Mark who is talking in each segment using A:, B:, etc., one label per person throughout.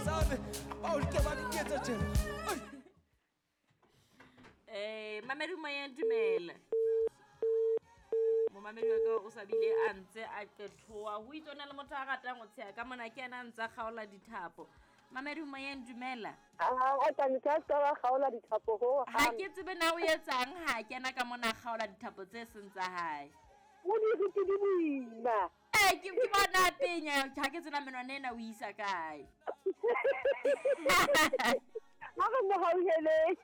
A: tshabe bao ke ba diketsa tjena.
B: Mamedi moyeng, dumela. Momamedi wa ka o sa bile a ntse a qethoa ho itse o na le motho a ratang ho tsheha ka mona, ke ena a ntse a kgaola dithapo. Mamedi moyeng, dumela.
C: A tsamisa a ska ba kgaola dithapo ho
B: Ha ke tsebe na o etsang ha kena ka mona a kgaola dithapo tse seng tsa hae.
C: O di rute di boima.
B: Ee, ke bona a penya, ha ke tsena menwana ena o isa kae.
C: Ha re mo hauheleng.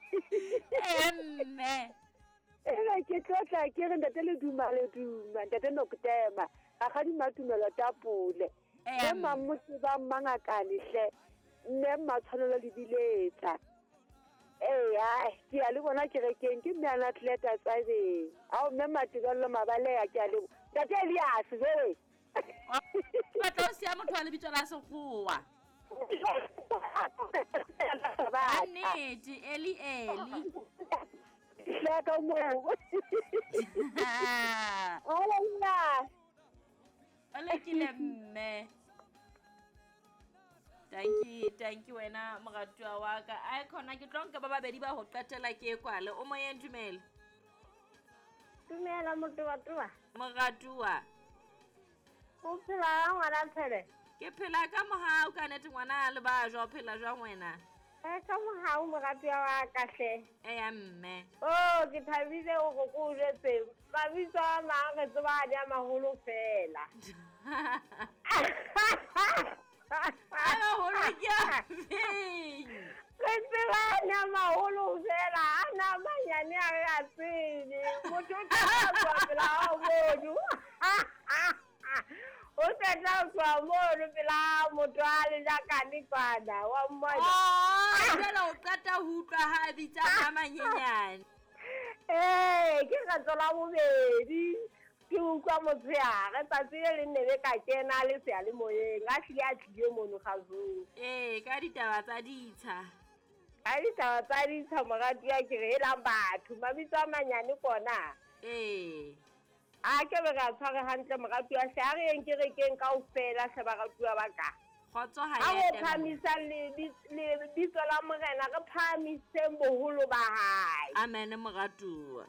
B: Ee mme.
C: Ebe ke tlotla ke re ntate le duma le duma ntate Nokutema rakgadi Matumelo Tapole
B: Ee,
C: mme Mammotse ba Mmangakane hle mme Mmatshwanelo le biletsa. Ee, ai ke ya le bona kerekeng ke mme Anatleta Tsabeng. Ao mme Matebello Mabaleya ke a le ntate Elias jwe.
B: Batla o siya motho wa lebitso la sekgowa. Ka nnete, Eli Eli.
C: Hleka moo. Hola nna.
B: O lekile mme. Tanki, tanki wena moratuwa wa ka. Ai khona ke tlo nka ba babedi ba ho qetela ke kwale. O moyeng, dumela.
D: Dumela motoatoa.
B: Moratuwa.
D: O phela ka ngwana Tshele?
B: Ke phela ka mohau ka nete ngwana a le ba jwa, o phela jwang wena?
D: Eh, ka mohau moratuwa wa ka hle.
B: Eya mme.
D: Oh, ke thabile hore ko o jwetse. Mabitso a mang re tseba a di a maholo fela.
B: A maholo ke a feng?
D: Re tseba a di a maholo fela, a na manyane a re a tsebe. Motho o tla tloha pela hao mono. O tla tloha mono pela motho a le jakane kwana, wa mmona.
B: Oh, jwale o qeta ho utlwa ha a bitsa a manyenyane.
D: Ee, ke kgetlo la bobedi ke utlwa motshehare tsatsi le leng ne be ka kena le seyalemoyeng a hlile a tlile mono kgazong.
B: Ee, ka ditaba tsa ditsha.
D: Ka ditaba tsa ditsha moratuwa ke re helang batho mabitso a manyane kona.
B: Ee.
D: A ke be re a tshware hantle moratuwa hle, a re yeng kerekeng kaofela hle baratuwa ba ka.
B: Kgotso ha
D: Ha
B: e
D: re
B: etella.
D: phahamisa lebitso la Morena, re phahamiseng boholo ba hae.
B: Amen moratuwa.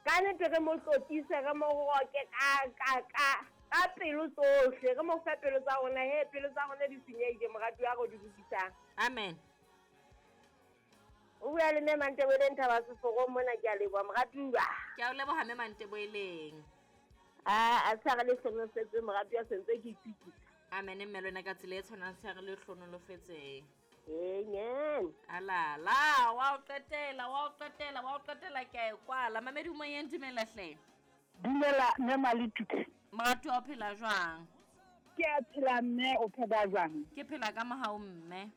D: Ka nnete re mo tlotlise, re mo roke ka ka ka ka pelo tsohle, re mo fe pelo tsa rona. He, pelo tsa rona di senyehile moratuwa, re di lokisang.
B: Amen.
D: O bua le mme Manteboeleng Thaba Seforong mona, ke a leboha moratuwa.
B: Ke a o leboha mme Manteboeleng.
D: A a tshware le hlonolofetseng moratuwa, sentse ke itukisa.
B: Amen mme le wena ka tsela e tshwanang tshware le hlonolofetseng.
D: Amen.
B: Alala, wa o qetela, wa o qetela, wa o qetela ke a e kwala. Mamedi o moyeng, dumela hle.
E: Dumela mme Maletuke.
B: Moratuwa o phela jwang?
E: Ke a phela mme, o phela jwang?
B: Ke phela ka mohau mme.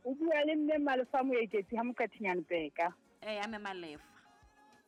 E: O bua le mme Malefa Moeketsi ha Moqathinyane Peka.
B: Ee, mme Malefa.